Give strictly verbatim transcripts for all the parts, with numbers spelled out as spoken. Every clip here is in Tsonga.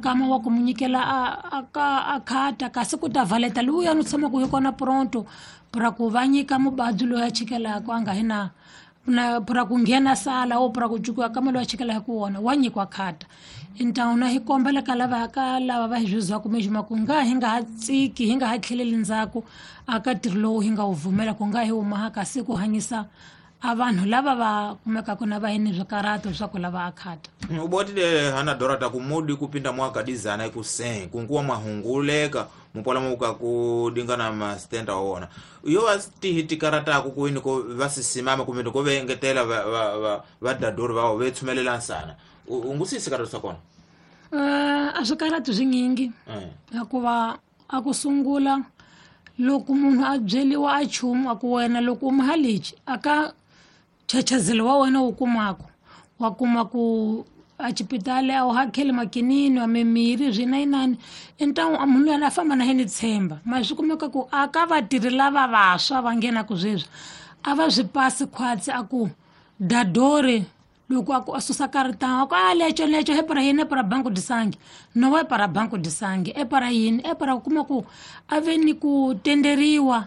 kama wa ku mu nyikela a a ka a khata kasi ku ta valeta luya no tshama ku hi kona pronto pra ku va nyika mubadzi loyi a chikelaka a nga hi na na pra ku nghena sala o pra ku cukiwa kama loyi a chikelaka ku wona wa nyikiwa khata. Então na hi kombela ka lava ka lava va hi zwizwaku mejima ku nga hi nga ha tsiki hi nga ha tlheleli ndzhaku aka ntirho lowu hi nga wu vumela ku nga hi huma kasi ku hanyisa a vanhu lava va kumekaka na va yini swikarato swa ku lava akhata. Ubotile hana dorata kumudi kupinda mwaka dizana ikusen kunkuwa mwahunguleka mupola muka kudingana mastenda wona iyo vasitihitikarata ku kuini ko vasisimama kumbe ko vengetela va va va dadori va vethumelela sana ungusisi karata sakona. Eh a swikaratu swinyingi hikuva a ku sungula loko munhu a byeliwa a chumu a ku wena loko u mahalichi aka chachazelo wa wena wu kumako wa kuma ku a xipitali a wu hakeli makinini a mimirhi swinayinani então a munhu luyani a famba na yena tshemba ma swi kumeka ku a ka vatirhi lava vantshwa va nghenaku sweswi a va swi pasi khwatsi a ku dadori loko a ku a susa karitanga a ku a leco leco e para yini e para banco de sangue no e para banco de sangue e para yini e para ku kuma ku a ve ni ku tenderiwa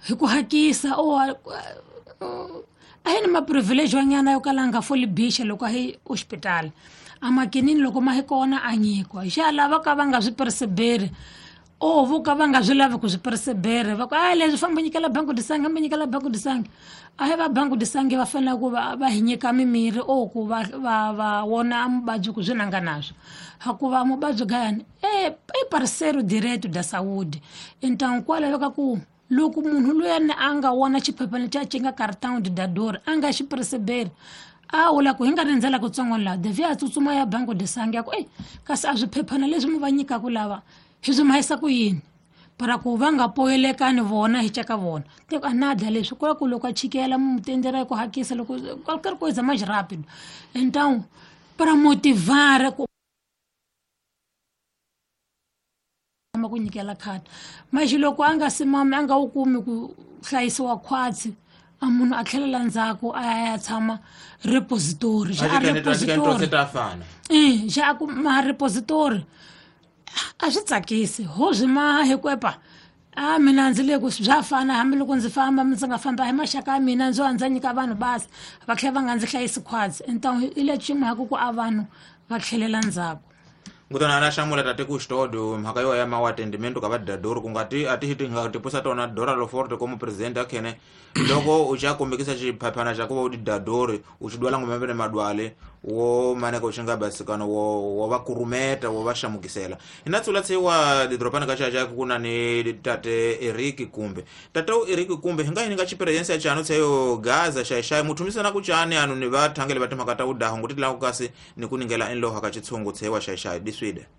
hi ku hakisa o a hi ni ma-privilege wanyana yo kala a nga foli bixa loko a hi hospital a makinini loko ma hi kona a nyikiwa xa lava ka va nga swi perseberi o vo ka va nga swi lavi ku swi persebere va ku a leswi famba nyikela banco de sangue hamba nyikela banco de sangue a hi va banco de sangue va fanele ku va va hi nyika mimirhi o ku va va va wona mubabyi ku swi nanga naswo hikuva mubabyi gayani e i parceiro direto da saúde. Então kwalaho ka ku loko munhu luyani a nga wona xiphephana xa xi nga cartão de dador a nga xi perseberi a wula ku hi nga rindzela kutsongo laha devia a tsutsuma ya banco de sangue ya ku ei kasi a swiphephana leswi mi va nyikaku lava hi swi mahisa ku yini para ku va nga poyelekani vona hi caka vona te a nada leswi ku ku loko a chikela mu tendera ku hakisa loko qualquer coisa mais rápido. Então para motivar ku ku nyikela khadi mas loko a nga simami a nga wu kumi ku hlayisiwa khwatsi a munhu a tlhelela ndzhaku a ya ya tshama repository xa a repository eh xa ku ma repository a swi tsakisi ho swi maha hi ku epa a mina ndzi le ku bya fana hambiloko ndzi famba ndzi nga famba hi maxaka ya mina ndzo andza nyika vanhu basi va tlhela va nga ndzi hlayisi khwatsi. Então hi lexi mhaka ku a vanhu va tlhelela ndzhaku. Ngutana na shamula tate ku xitodo mhaka yo ya mawatendimento ka vadadori ku nga ti a ti ti nga tipusa tona Dora Loforte como presidente akhene loko u xa kombekisa xiphaphana xa ku va u ti dadori u xi dwala ngombe madwale wo maneka u xi nga basikana wo wo va kurumeta wo va xamukisela ina tsula tsiwa didropana ka xa ku na ni tate Eric Kumbe tate Eric Kumbe hi nga yini nga experience ya chano tseyo Gaza xa xa muthumisana ku chani anu ni va thangele va timhaka ta udaho nguti la ku kasi ni ku ningela enloha ka xitshungu tsewa xa xa Sweden.